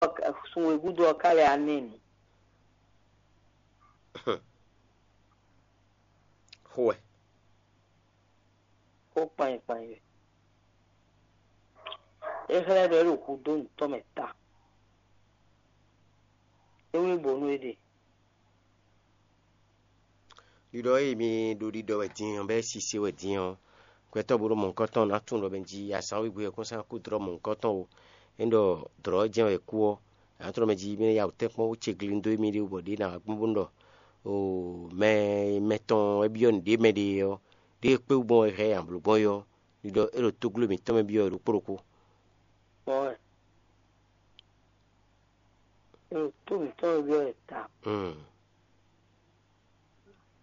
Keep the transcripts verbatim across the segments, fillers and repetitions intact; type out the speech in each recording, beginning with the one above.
ɔ́ ka- sun e gúdo ɔ́ ka lɛ anɛ́nu. Xó wɛ. Xó kpanyi kpanyi wɛ. É xlɛ́ ɖɔ é ɖo hudó nǔtɔn mɛ ta. É wlí bǒ nú éɖée. Ɖiɖɔ e mi ɖo ɖiɖɔ wɛ din ɔ́, bɔ é sise wɛ din ɔ́, gbɛtɔ́ bo ɖo mɔ̌hunkɔtɔn ná tunwun ɖɔ mɛ jí azǎn wegbe ɔ́ kún sán kú dlɔ́ mɔ̌hunkɔtɔn o. É ɖɔ dlɔ̌ jɛ́n wɛ kú ɔ́, azǎn tɔn mɛ jí mi ná ya wǔ tɛ́nkpɔ́n wú ce glindó émí ɖé wú bɔ ɖě ná wá gbɔn bó ɖɔ o mɛ mɛtɔn wɛ byɔ́ nǔɖé mɛ ɖe ɔ́, ɖěe kpé wú gbɔn wɛ hɛn amblǒ gbɔn é ɔ́, ɖiɖɔ é ɖo tógló mǐtɔn mɛ byɔ́ wɛ ɖokpó ɖokpó. Bɔ é ɖo tó mǐtɔn mɛ byɔ́ wɛ ta.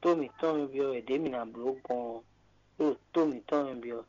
Tó mǐtɔn mɛ byɔ́ wɛ ɖě mǐ ná bló gbɔn ɔ́, é ɖo tó mǐtɔn mɛ byɔ́.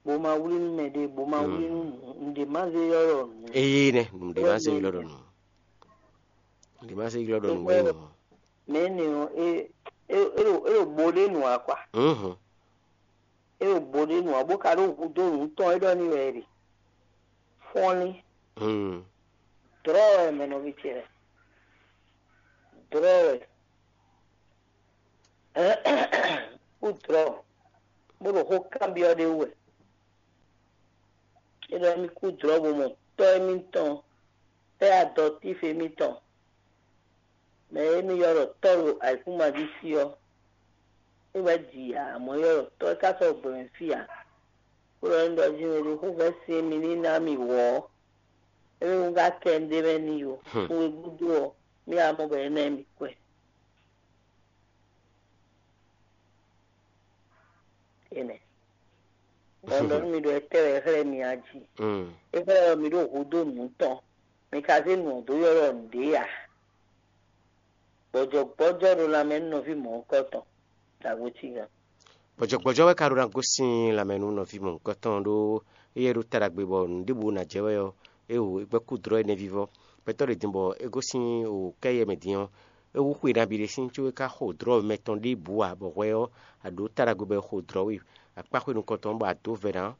Bó ma wlí nú mɛ ɖé, bó ma wlí nú nǔ, nǔɖé má zé ylɔ́ nǔ. Eye nɛ nǔɖé má zé ylɔ́ ɖɔ nǔ. Nǔɖé má zé ylɔ́ ɖɔ nǔ wɛ nyí. Mɛ énɛ́ ɔ́, é é é ɖo é ɖo bo ɖé nǔ ǎ kwa. Mhm. É ɖo bo ɖé nǔ ǎ, bó ka ɖó hudó nǔ tɔn é ɖɔ n'i wɛ é ɖe. Fɔ́nlín, Mhm. dlɔ́ wɛ mɛ nɔví ce lɛ́ɛ. Dlɔ́ wɛ. Kú dlɔ́, bó ɖo xó kanbyɔ́ ɖé wú wɛ. É ɖɔ émí kú dlɔ́ bó mɔ tɔ́ émítɔn, tɛ́ adɔtíf émítɔn, mɛ e émí ylɔ́ ɖɔ tɔ́ ɖo ayǐkúngban jí fí ɔ́, é wɛ ji ǎ, amɔ̌ é ylɔ́ ɖɔ tɔ́ é ka sɔ́ gbɛ mɛ fí ǎ. Bó ɖɔ émí ɖɔ jí mɛ ɖé xó vɛ́ sin émí ní ná mì wɔ̌ ɔ́, émí wú ka kɛ un ɖ'é mɛ n'i ó. Sun e gúdo ɔ́, mì wá mɔ bɔ é ná mì kwɛ. Énɛ́. Bɔ un ɖɔ nú mi ɖɔ étɛ́ wɛ é xlɛ́ mi a jí? Mm. É xlɛ́ ɔ́ mi ɖo hudó nǔ tɔn, mi ka zé nǔ ɔ́ dó ylɔ́ nǔɖé ǎ. Gbɔjɔgbɔjɔ ɖo lanmɛ nú nɔví mɔ̌hunkɔtɔn, dǎgbó cígan. Gbɔjɔgbɔjɔ wɛ ka ɖó ná gosín lanmɛ nú nɔví mɔ̌hunkɔtɔn ɖó éyɛ́ ɖó ta ɖagbe bɔ nǔɖébǔ ná jɛ wɛ ɔ́, é wu é gbɛ́ kú dlɔ́ énɛ́ vívɔ́. Gbɛtɔ́ ɖě din bɔ é gosín o kɛ́ yɛ mɛ din ɔ́, é wú xwe nabí ɖé sín có é ka xo dlɔ́ mɛtɔn ɖěbǔ ǎ, bɔ hwɛ ɔ́, a ɖǒ ta ɖagbe bɔ è xo dlɔ́ we. Akpáxwé nukɔntɔn bɔ a dǒ vɛ̌ ná.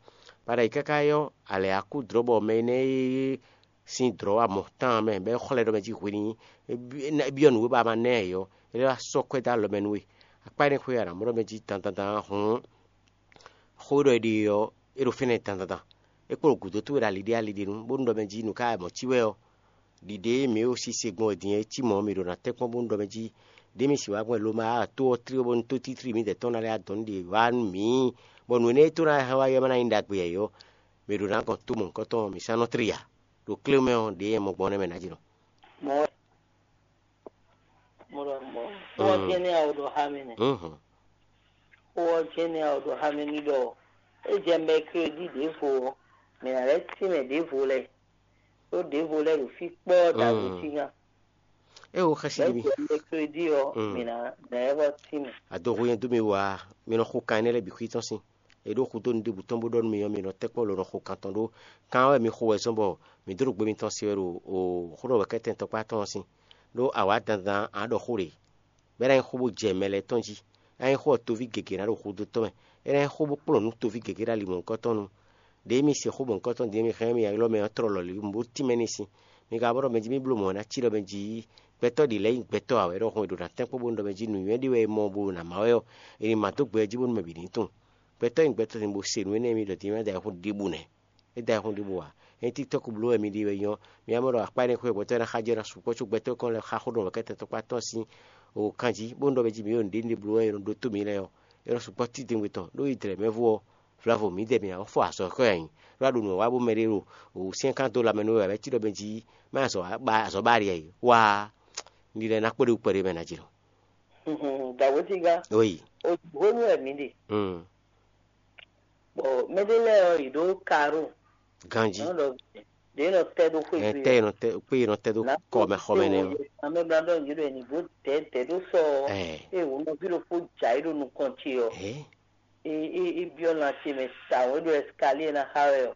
Paɖayi káká ɔ́, a lɛ̌ a kú dlɔ́ bɔ mɛ énɛ́ e sín dlɔ̌ wa mɔ tán mɛ bɔ é xlɛ́ ɖɔ mɛ jí hwe ní é byɔ́ nǔ e ba ma ná ɛ ɔ́, é lɛ́ wá sɔ́ kwɛ́ dó alɔ mɛ nú we. Akpá énɛ́ xwé a nǎ mɔ ɖɔ mɛ jí dandan dan hǔn xó e ɖɔ è ɖe ɔ́, é ɖo fínɛ́ dandan dan. É kpo ɖo gǔdo towe ɖo ali ɖé ali ɖé nu, bónú ɖɔ mɛ jí nǔ ka wɛ mɔ̌ cí wɛ ɔ́, ɖiɖe e mǐ ɖo sise gbɔn wɛ din é cí mɔ̌, mǐ ɖo ná tɛ́nkpɔ́n bónú ɖɔ mɛ jí ɖě mǐ sixú wá gbɔn lo ma to ɔ́ tlí bónú tótítlí mǐdɛɛ tɔn ná lɛ́ adɔn nú ɖě wá nú mǐ, bɔ nǔ énɛ́ e tó ná hɛn wá yɔ ma ná nyí ɖagbe ǎ é ɔ́, mǐ ɖo ná gɔn tó mɔ̌hunkɔtɔn mǐ sán nɔ tlí ǎ. Ɖo klé mɛ ɔ́, ɖě e mɔ gbɔn nɛ́ mɛ ná jlɔ́. Mɔ̌ wɛ. Mo ɖɔ mɔ̌. Xó ɔ́ jɛ́n nɛ́ a ɖɔ xá mì nɛ́. Xó ɔ́ jɛ́n nɛ́ a ɖɔ xá mì ní ɖɔ é jɛ mɛkrédi ɖěvo ɔ́, mǐ ná lɛ́ tínmɛ ɖěvo lɛ́ɛ, ɖó ɖěvo lɛ́ɛ ɖo fí kpɔ́ɔ́ ɖo agutígan. É wo xɛsi Bɛ́ nú mì. Jɛ mɛkrédi ɔ́, mǐ ná ná ɛ vɔ tínmɛ. Adoxo nyɛ dó mi wá, mi nɔ xo kan énɛ́ lɛ́ɛ bǐ xwí tɔn sín. È ɖó xudó nǔɖébǔ tɔn bó ɖɔ nú mi ɔ́, mi nɔ tɛ́kpɔ́ lo nɔ xo kan tɔn ɖó. Kan ɔ́ wɛ mi xo wɛ zɔ́n bɔ mi dó ɖo gbe mitɔn se wɛ ɖo o xó ɖɔ wɛ̌kɛ́tɛn tɔkpá tɔn ɔ́ sín. Ɖó awǎ dandan a ɖɔ xó ɖě, bɔ é ná nyí xó bó jɛ mɛ lɛ́ɛ tɔn jí. É ná nyí xó ɔ́ toví gěgé ná ɖo xudó tɔn mɛ. É ná nyí xó bó kplɔ́n nú toví gěgé ɖo ali mɔ̌hunkɔtɔn nu. Ɖě mi se xó mɔ̌hunkɔtɔn din mi hɛn mi ylɔ́ mɛ ɔ́ tlɔ́ lɔ̌li bó tínmɛ n'i sín. Mi ka bó ɖɔ mɛ jí mi bló mɔ̌ ná cí ɖɔ mɛ jí gbɛtɔ́ ɖě lɛ́ɛ nyí gbɛtɔ́ ǎ wɛ ɖɔhun è ɖo ná tɛ́nkpɔ́n bónú ɖɔ mɛ jí nǔnywɛ́ ɖé wɛ è mɔ bó ɖo nǎ má wɛ ɔ́, è nǐ má dó gbɛ jí bónú mɛ bǐ ní tunwun. Gbɛtɔ́ e nyí gbɛtɔ́ din bó se nǔ énɛ́ mi ɖɔ din mɛ da ayihún ɖěbǔ nɛ́. É da ayihún ɖěbǔ ǎ. Ényí TikTɔ́k bló wɛ mi ɖe wɛ nyí ɔ́, mi wá mɔ ɖɔ akpá énɛ́ xwé gbɛtɔ́ ná xá jɛ ná sukpɔ́ có gbɛtɔ́ kɔn lɛ́ xá xó ɖɔ wɛ̌kɛ́tɛn tɔkpá tɔn sín o kanjí, bónú ɖɔ mɛ jí mi ɖo nǔɖé ní ɖe bló wɛ è nɔ ɖótó mi lɛ́ɛ ɔ́, é nɔ sukpɔ́ títɛngbɛ tɔn ɖó yi dlɛ̌ mɛ vú ɔ́, vlavo mǐdɛɛ mǐ ná fɔ azɔ̌ xɔ nyi, ɖó a ɖo nǔ wa bó mɛ ɖé ɖo wǔsyɛ́n kan dó lanmɛ nú we wɛ cí ɖɔ mɛ jí má azɔ̌ ba azɔ̌ ba ɖi ɛ wá ní lɛ́ ná kpó ɖé wú kpɛɖé mɛ ná jlɔ́. Dǎwétígá, Oyi. Hwenu wɛ mǐ ɖe. Mm. Bɔ mɛɖé lɛ́ɛ ɔ́, yě ɖó karo. Ganjí. Nɔ ɖɔ ɖě nɔ tɛ ɖó xwé Ɛ gbe tɛ nɔ tɛ kpé nɔ tɛ ɖó kɔmɛ xɔmɛ nɛ ɔ́. Amɛbla ɖɔ yě ɖo ɛni bó dɛ dɛ ɖó sɔ ɔ́. Ɛ Eye wò nɔví ɖokpó dza yí ɖo nukɔn ce ɔ́. Ɛ E e e byɔ́ lan ce mɛ tawun, e ɖo ɛsikaliɛ ná xa wɛ ɔ́.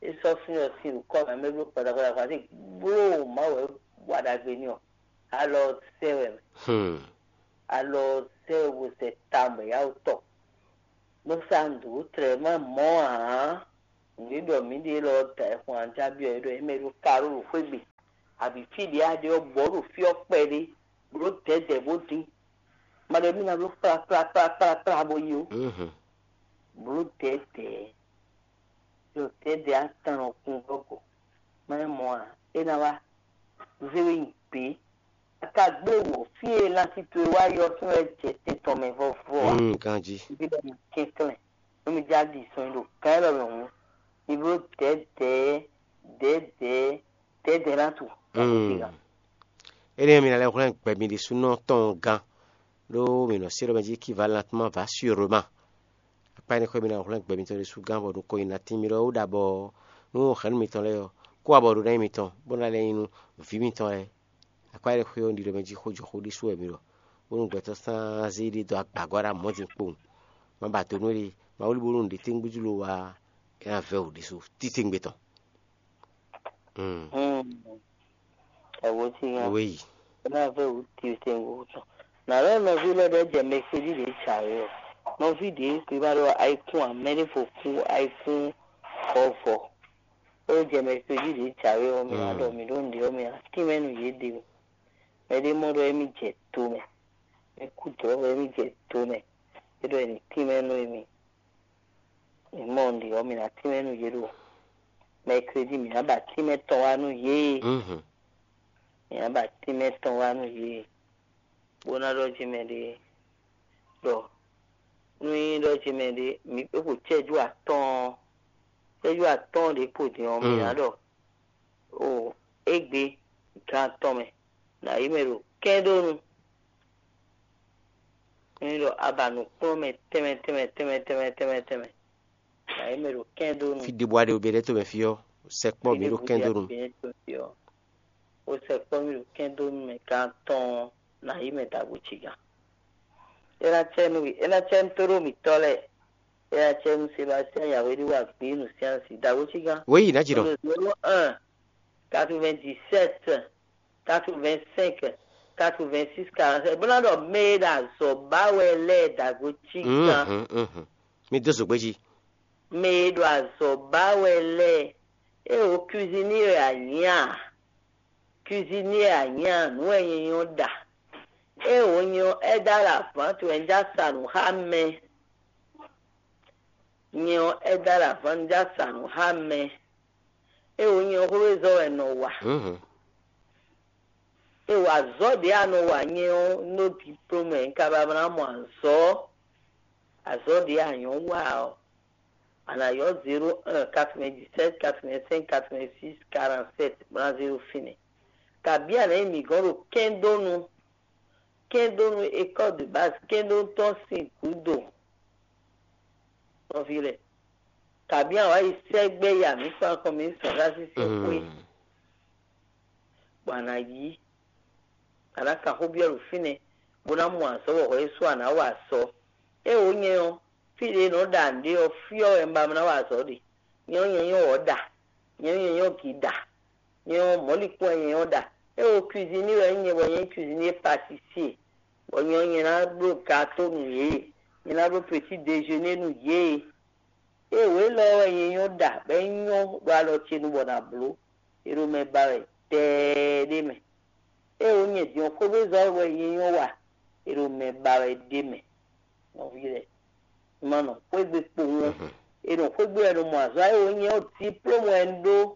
E sɔ́ fún ɔ́ sin ɖo kɔmɛ, mɛ bló kpɔdakpɔdakpɔ ati bló Mawu wɛ wa ɖagbe n'i ɔ́. Alɔ sɛ wɛ mɛ. Hmm. Alɔ sɛ wɛ bo sɛ tawun bɔ ya wò tɔ. Bó sá nǔ dó tlɛ má mɔ ǎ. Nǔ e ɖɔ mǐ ɖe lɔ da ɛ xwan ajábí ɔ́, é ɖɔ émɛ ɖo karó ɖo xwé gbe, abǐ fí ɖě a ɖe ɔ́, bɔ̌ ɖo fí ɔ́ kpɛɖé, bló dɛ̌dɛ̌ bó dín. Ma ɖɔ émí ná bló kplá kplá kplá kplá kplá bó yi ó. Bló dɛ̌dɛ̌, ɖo dɛ̌dɛ̌ atán nɔ kún gɔ́gɔ́. Má nyí mɔ̌ ǎ, é ná wá zé we nyi gbě. A ka gbé wǒ fí e lanti towe wá yi ɔ́ sín wɛ jɛ te tɔn mɛ vɔvɔ ǎ. Mm, ganjí. Bí lɛ nɔ kɛnklɛ́n, nú mi já ɖi sɔn nyi ɖo gǎn élɔ́ mɛ hǔn, mi bló dɛ̌dɛ̌, dɛ̌dɛ̌, dɛ̌dɛ̌ ná tu. Mm. Énɛ́ mi ná lɛ́ hwlɛ́n gbɛ mi ɖésúnɔ tɔn gán, ɖó mi nɔ se ɖɔ mɛ jí équivalent va sûrement. Akpá énɛ́ xwé mi ná hwlɛ́n gbɛ mitɔn ɖésú gán bɔ nukɔn nyi ná tín mi ɖɔ ó ɖa bɔ nú hɛ̌nnu mitɔn lɛ́ɛ ɔ́, kó abɔ ɖo ná nyi mitɔn, bó ná lɛ́ nyi nú vǐ mitɔn lɛ́ɛ. Akpá énɛ́ xwé ɔ́, un ɖi ɖɔ mɛ jí xó jɔ xó ɖésú wɛ mi ɖɔ, bónú gbɛtɔ́ sán zé ɖé dó agbǎgɔ́ ɖo amɔ̌ din kpowun. Ma ba do nú éɖée, ma wlí bónú nǔɖé tɛ́ngbɛ́ jló wa é ná vɛ́ wǔ ɖésú títewungbe tɔn. Awǒ cí nya. Wéyi. É ná vɛ́ wǔ títewungbe tɔn. Nǎ lɛ́ nɔví lɛ́ɛ ɖɔ é jɛ mɛkpéjí ɖě jǎwe ɔ́. Nɔví ɖě kpé ma ɖɔ ayikún ǎ, mɛ ɖěvo kú ayikún vɔvɔ. É jɛ mɛkpéjí ɖě jǎwe ɔ́, mi ná ɖɔ mǐ ɖó nǔɖé ɔ́, mi ná tínmɛ nú yěɖée. Mɛ ɖé mɔ ɖɔ émí jɛ do mɛ, mɛ kú dɔ̌ wɛ émí jɛ do mɛ, é ɖɔ è nǐ tínmɛ nú émí. Mǐ mɔ nǔɖé ɔ́, mǐ ná tínmɛ nú yě ɖo mɛkrédi, mǐ ná ba tínmɛ tɔn wá nú yě. Mǐ ná ba tínmɛ tɔn wá nú yě, bó ná ɖɔ jí mɛ ɖé ɖɔ nú nyí ɖɔ jí mɛ ɖé mǐ é xo cɛ́jú atɔ́ɔ́n, cɛ́jú atɔ́ɔ́n ɖě kpo din ɔ́, mǐ ná ɖɔ o égbé gan tɔn mɛ, nǎ yí mɛ ɖo kɛ́ndónu. Nyí ɖɔ a ba nǔkplɔ́nmɛ tɛnmɛ tɛnmɛ tɛnmɛ tɛnmɛ tɛnmɛ tɛnmɛ, nǎ yí mɛ ɖo kɛ́ndónu. Fí ɖěbǔ aɖe bǐ ɖɛ́ to mɛ fí ɔ́, sɛkpɔ́ mǐ ɖo kɛ́ndónu. Ó sɛkpɔ́ mì ɖo kɛ́ndónu mɛ gan tɔn ná yí mɛ dǎgbó cí gán. É ná cɛ nú é ná cɛ nú tóɖó mǐtɔn lɛ́ɛ. É ná cɛ nú Sebastien Yahweh ɖé wa gbě nǔ syási dǎgbó cí gán. Wěyi ná jǐ nɔ. Zéro un, quatre-vingt-dix-sept, quatre-vingt-cinq, quatre-vingt-six, quarante-sept. Bó ná ɖɔ mɛ e ɖo azɔ̌ ba wɛ lɛ́ɛ dǎgbó cí gán. Mi dó zǒgbé jí. Mɛ e ɖo azɔ̌ ba wɛ lɛ́ɛ, é wǒ cuisinier wɛ a nyǐ a? Cuisinier a nyǐ a? Nǔ wɛ nyɛ nyɔ́ ɖa. É wǒ nyɛ ɔ́, aide à la vente wɛ un já sa nǔ xá mɛ. Nyɛ ɔ́, aide à la vente un já sa nǔ xá mɛ. É wǒ nyɛ ɔ́, xwézɔ́ wɛ un nɔ wa. É wǒ azɔ̌ ɖě a nɔ wa nyɛ ɔ́, un ɖó diplôme wɛ, un ka ba ná mɔ azɔ̌. Azɔ̌ ɖě a nyɔ̌ wa ɔ́, a nǎ ylɔ́ zéro un, quatre-vingt-dix-sept, quatre-vingt-cinq, quatre-vingt-six, quarante-sept, bó ná zéro fínɛ́. Kabǐ a nǎ nyi mǐ gɔ́n ɖo kɛ́ndónu, kɛ́ndónu école de base, kɛ́ndónu tɔn sín gǔdo. Nɔví lɛ́ɛ, kabǐ a wǎ yi sɛ́gbɛ́ ya mǐ kpán kɔn mǐ sɔn xá sísí xwé, bɔ a nǎ yí, a nǎ kan xó byɔ́ ɖo fínɛ́, bó ná mɔ azɔ̌ bɔ hwɛ é sú a nǎ wa azɔ̌. É wǒ nyɛ ɔ́, fí ɖě nɔ ɖa nǔɖé ɔ́, fí ɔ́ wɛ un ba ná wa azɔ̌ ɖe. Nyɛ ɔ́, nyɛ nyɔ́ wɔ̌ ɖa, nyɛ ɔ́, nyɛ nyɔ́ gǐ ɖa, nyɛ ɔ́, mɔ̌likún wɛ nyɛ nyɔ́ ɖa. É wǒ cuisinier wɛ nyí nyɛ, bɔ nyɛ nyí cuisinier pâtissier, bɔ nyɛ ɔ́, nyɛ ná bló gato nú yě, nyɛ ná bló petit déjeuner nú yě. É wǒ élɔ́ wɛ nyɛ nyɔ́ ɖa, bɔ é nyɔ́ ɖo alɔ ce nu bɔ nǎ bló. È ɖo mɛ ba wɛ tɛɛ ɖé mɛ. É wǒ nyɛ din ɔ́, xwégbézɔ́ wɛ nyɛ nyɔ́ wa, è ɖo mɛ ba wɛ ɖé mɛ. Nɔví lɛ́ɛ, ma nɔ xwé gbe kpowun ɔ́, è nɔ xwé gbe wɛ ɖo mɔ azɔ̌. É wǒ nyɛ ɔ́, diplôme wɛ un ɖó,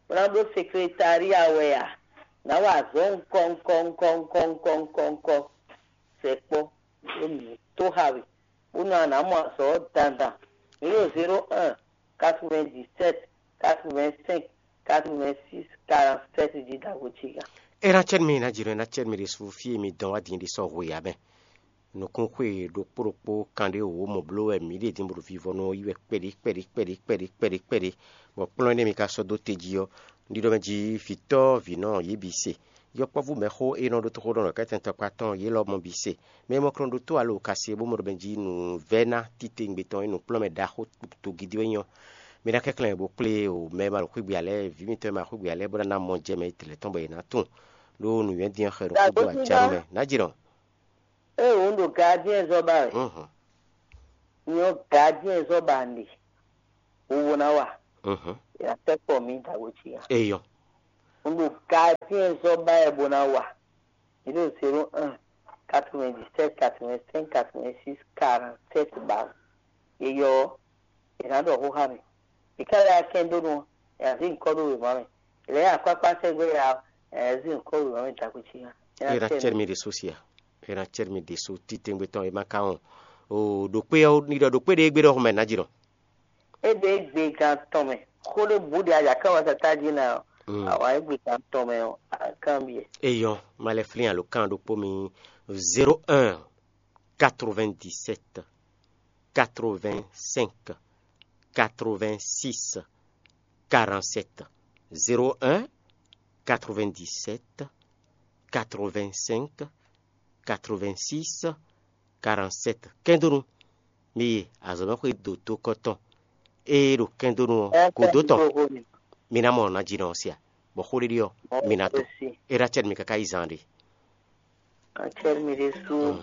bó ná bló secrétariat wɛ a? Nǎ wa azɔ̌ ŋkɔ ŋkɔ ŋkɔ ŋkɔ ŋkɔ ŋkɔ ŋkɔ. Sɛkpɔ́, ɖó mǐ tó xa we, bónú a nǎ mɔ azɔ̌ ɔ́ dandan. Mǐ ɖo zéro un, quatre-vingt-dix-sept, quatre-vingt-cinq, quatre-vingt-six, quarante-sept jí ɖaxó ce gán. É ná cɛ́ nú mì, é ná jǐ nɔ, é ná cɛ́ nú mì ɖésú fí e mi dɔn wá din ɖi sɔ́ hwe ǎ mɛ. Nukúnxwe ɖokpó ɖokpó kanɖé wǒ mɔ bló wɛ mǐ ɖe din bó ɖo vivɔnu ɔ́ yí wɛ kpɛɖí kpɛɖí kpɛɖí kpɛɖí kpɛɖí kpɛɖí, bɔ kplɔ́n énɛ́ mi ka sɔ́ dó te jí ɔ́, un ɖiɖɔ mɛ jí vǐtɔ́ vǐnɔ yě bǐ se. Yɔkpɔ́vú mɛxó e nɔ ɖó toxóɖɔnɔ kɛ́tɛn tɔkpá tɔn yě lɔ mɔ bǐ se. Mɛ e mɔ kɔn ɖó tó alo ka se bó mɔ ɖɔ mɛ jí nǔvɛ́ná titewungbe tɔn e nǔkplɔ́nmɛ ɖaxó togidi wɛ nyí ɔ́, mi ná kɛnklɛ́n bó kplé o mɛ e ma ɖo xwé gbe ǎ lɛ́ɛ, vǐ mitɔn e ma ɖo xwé gbe ǎ lɛ́ɛ, bó ná ná mɔ jɛ mɛ e tlɛ tɔn bɔ yě ná tunwun ɖó nǔnywɛ́ dín ɔ́ xɛ ɖo xódó acanu mɛ. Ná jǐ nɔ. Ée wǒ ɖo gardien zɔ́ ba wɛ, nyɔ gardien zɔ́ ba nɖe, wowo ná wa. Mhm. Ina tɛkpɔ mi dago ci ya. Eyɔ. Un ɖo gardien zɔ ba yɛ bo na wa. Mi ɖo zéro un, quatre-vingt-dix-sept, quatre-vingt-cinq, quatre-vingt-six, quarante-sept ba. Eyɔ. Ina ɖɔ xó xa mi. Ika lɛ akɛn do nu. Ya zi nkɔ ɖo wema mi. Lɛ akpakpa sɛgbɛ ya. Ya zi nkɔ wema mi dago ci ya. Era cɛr mi ɖe so sia. Era cɛr mi ɖe so titengbe tɔn ema ka wɔn. O ɖo kpe ɔ ni ɖɔ ɖo kpe ɖe egbe ɖɔ xɔmɛ na ji nɔ. E ɖe gbe gan tɔn mɛ. Xó ɖe bu ɖe ajakɛ wa tata ji na. Mm. Awa e gbe gan tɔn mɛ o. Akan biɛ. Eyɔ, ma lɛ flin alo kan ɖokpó mi. Zéro un, quatre-vingt-dix-sept, quatre-vingt-cinq, quatre-vingt-six, quarante-sept. Zéro un, quatre-vingt-dix-sept, quatre-vingt-cinq, quatre-vingt-six, quarante-sept. Kɛndonu. Mi yi azɔ̌mɛxwé dotokɔ tɔn. Ée ɖo kɛndonu ɔ́ godo tɔn, mi ná mɔ ná ji nɔ sia. Bɔ xó ɖiɖi ɔ́, mi ná to. Era cɛ́ mi káká yi zan ɖe. Acɛ́ mi ɖésú.